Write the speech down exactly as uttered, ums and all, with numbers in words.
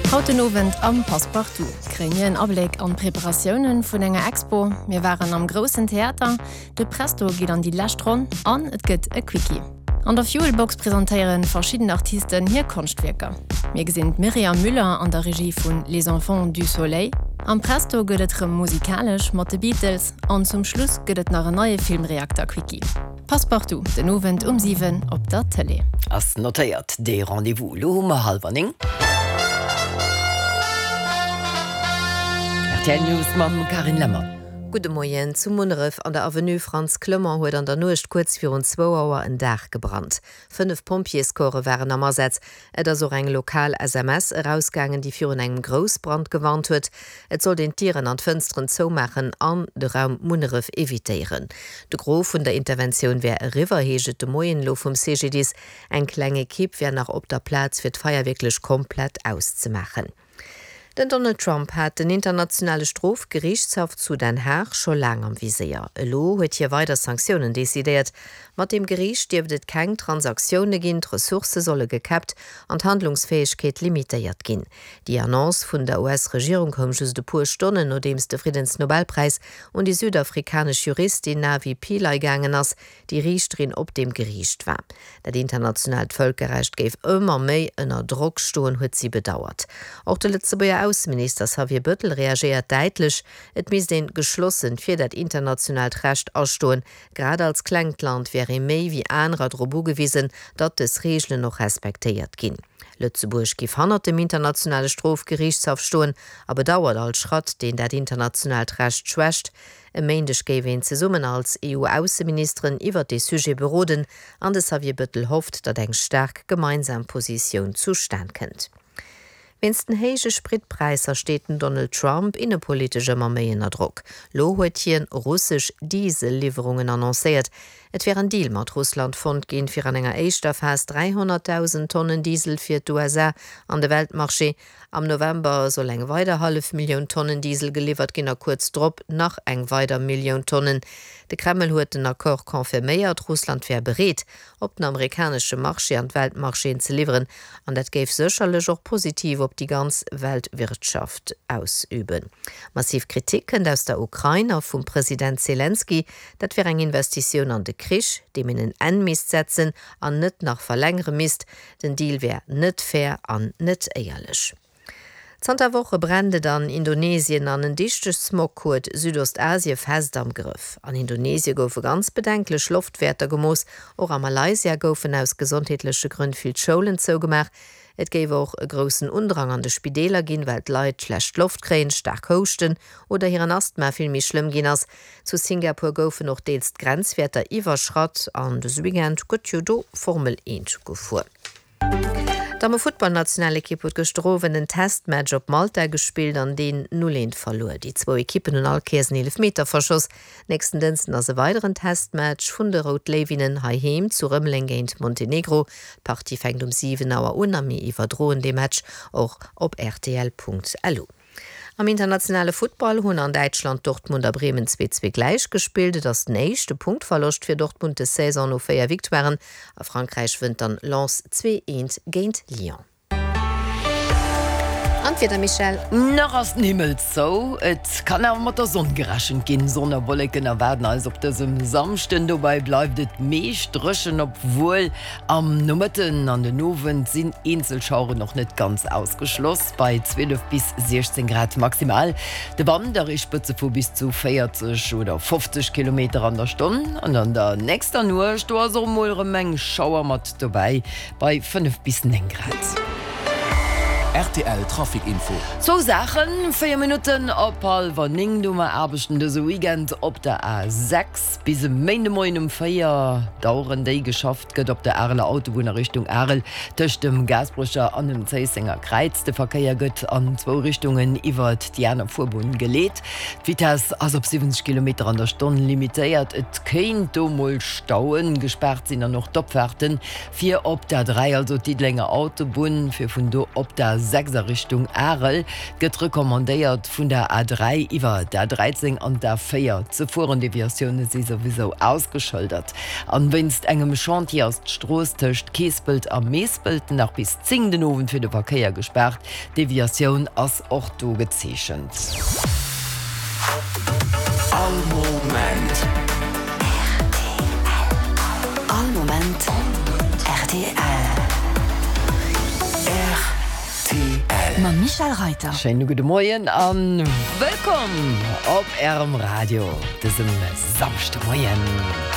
Haut den Owend am Passepartout kréie mir en Abléck an d'Preparatioune vun enger Expo, mir waren am Groussen Theater, de Presto geet an déi lescht Ronn an et gëtt e Quickie. An der Fuelbox presentéiere verschidden Artisten hir Konschtwierker. Mir gesinn d'Myriam Müller an der Regie vun Les Enfants du Soleil. Am Presto gëtt et rëm musikalesch mat de Beatles an zum Schluss gëtt et nach en neie Filmreakter-Quickie. Passepartout den Owend um siwen op der Tëlee. Ass notéiert dee Rendez-vous. Lo hu mer hallwer néng. Rtl News mam Carine Lemmer. Gudde Moien. Zu Munneref an der Avenue Frantz Clement huet an der Nuecht kuerz virun zwou Auer en Daach gebrannt. Fënnef Pompjeescorpse waren am Asaz. Et ass och eng lokal S M S erausgaangen, déi virun engem Groussbrand gewarnt huet. Et sollt een d'Dieren an d'Fënsteren zoumaachen an de Raum Munneref evitéieren. De Gros vun der Interventioun wär eriwwer, heescht et de Moien elo vum C G D I S. Eng kleng Ekipp wär nach op der Plaz, fir d'Feier wierklech komplett auszemaachen. Den Donald Trump hat den internationale Strofgeriichtshaff zu Den Haag scho laang am Viséier. Elo huet hie weider Sanktiounen decidéiert. Mat deem Geriicht dierft et keng Transaktioune ginn, d'Ressourcë solle gekäppt an d'Handlungsfäegkeet limitéiert ginn. Déi Annonce vun der U S-Regierung koum just e puer Stonnen, nodeems de Friddensnobelpräis un déi südafrikanesch Juristin Navi Pillay gaangen ass, déi Riichterin op deem Geriicht war. Dat internationaalt Vëlkerrecht géif ëmmer méi ënner Drock stoen, huet si bedauert. Och de Lëtzebuerger Ausseminister Xavier Bettel reagéiert däitlech, et misst een geschlossen fir dat internationaalt Recht astoen. Grad als klengt Land wär ee méi wéi anerer drop ugewisen, datt dës Reegelen och respektéiert ginn. Lëtzebuerg géif hannert dem internationale Strofgeriichtshaff stoen a bedauert all Schratt, deen dat internationaalt Recht schwächt. E Méindeg géif een zesummen als E U-Ausseministeren iwwer dee Sujet beroden an de Xavier Bettel hofft, datt eng staark gemeinsam Positioun zustan kënnt. Wéinst den héije Spritpräisser steet den Donald Trump innepolitesch ëmmer méi ënner Drock. Lo huet hien russesch Dieselliwwerungen annoncéiert. Et wär en Deal mat Russland fonnt ginn, fir an enger éischter Phas dräihonnertdausend Tonnen Diesel fir d'U S A an de Weltmarché. Am November soll eng weider hallef Millioun Tonnen Diesel geliwwert ginn a kuerz drop nach eng weider Millioun Tonnen. De Kreml huet den Accord confirméiert, Russland wär bereet, op den amerikanesche Marché an d'Weltmarchéen ze liwweren, an dat géif sécherlech och positiv op déi ganz Weltwirtschaft ausüben. Massiv Kritik kënnt aus der Ukrain a vum President Zelensky, dat wär eng Investitioun an de Krich, deem een en Enn misst setzen an net nach verlängere misst. Den Deal wär net fair an net éierlech. Zanter Woche brennt et an Indonesien an en dichte Smog huet Südostasie fest am Grëff. An Indonesie goufe ganz bedenklech Loftwäerter gemooss, och a Malaysia goufen aus gesondheetleche Grënn vill Schoulen zougemaach. Et géif och e groussen Undrang an de Spideeler ginn, well d'Leit schlecht Loft kréien, staark houschten oder hiren Asthma vill méi schlëmm ginn ass. Zu Singapur goufen och deels d'Grenzwäerter iwwerschratt an dëse Weekend gëtt jo do Formel eent gefuer. D'Damme-Futtballnationalekipp huet gëschter Owend en Testmatch op Malta gespillt an deen null eent verluer. Déi zwou Ekippen hunn all Kéiers en Eelefmeter verschoss. Nächsten Dënschden ass e weideren Testmatch vun de Rout Léiwinnen heiheem zu Rëmeleng géint Montenegro. D'Partie fänkt um siwen Auer un a mir iwwerdroen dee Match och op R T L Punkt L U. Am internationale Futtball hunn an Däitschland Dortmund a Bremen zwee zwee gläich gespillt. Et ass den éischte Punktverloscht fir Dortmund des Saison no véier Victoiren. A Frankräich wënnt dann Lens zwee eent géint Lyon. An d'Wieder, Michèle? Nach ass den Himmel zou. Et kann awer mat der Sonn gerechent ginn. Sonn a Wolleken erwaarden eis op dësem Samschden. Dobäi bleift et meescht dréchen, obwuel am Nomëtten an den Owend sinn Eenzelschaueren noch net ganz ausgeschloss. Bei zwielef bis siechzehn Grad maximal. De Wand erreecht Spëtze vu bis zu véierzeg oder fofzeg Kilometer an der Stonn. An an der nächster Nuecht do ass och mol erëm eng Schauer mat dobäi bei fënnef bis néng Grad. R T L Trafic Info. Zwou Saachen, véier Minutten op hallwer néng. Do mer aarbechten dëse Weekend op der A sechs bis e Méindemoien um véier daueren déi geschafft gëtt op der Areler Autobunn a Richtung Arel tëscht dem Gaasperecher an dem Zéissenger Kräiz. De Verkéier gëtt an zwou Richtungen iwwer déi aner Fuerbunn geleet. D'Vitesse ass op siwwenzeg Kilometer an der Stonn limitéiert. Et kéint do mol Stauen gespaart sinn an och d'Opfahrten fir op der dräi, also d'Diddelenger Autobunn, fir vun do op der A sechs a Richtung Arel. Gëtt recommandéiert vun der A dräi iwwer d'A dräizéng an d'A véier ze fueren. Deviatioune si souwisou ausgeschëldert. An wéinst engem Chantier ass d'Strooss tëscht Keespelt a Meespelt nach bis zéng den Owend fir de Verkéier gespaart. D'Deviatioun ass och do gezeechent. All Moment. All Moment rtl. Rtl. Mam Michel Reiter. Schéine gudde Moien an wëllkomm op Ärem Radio dësem Samschdemoien.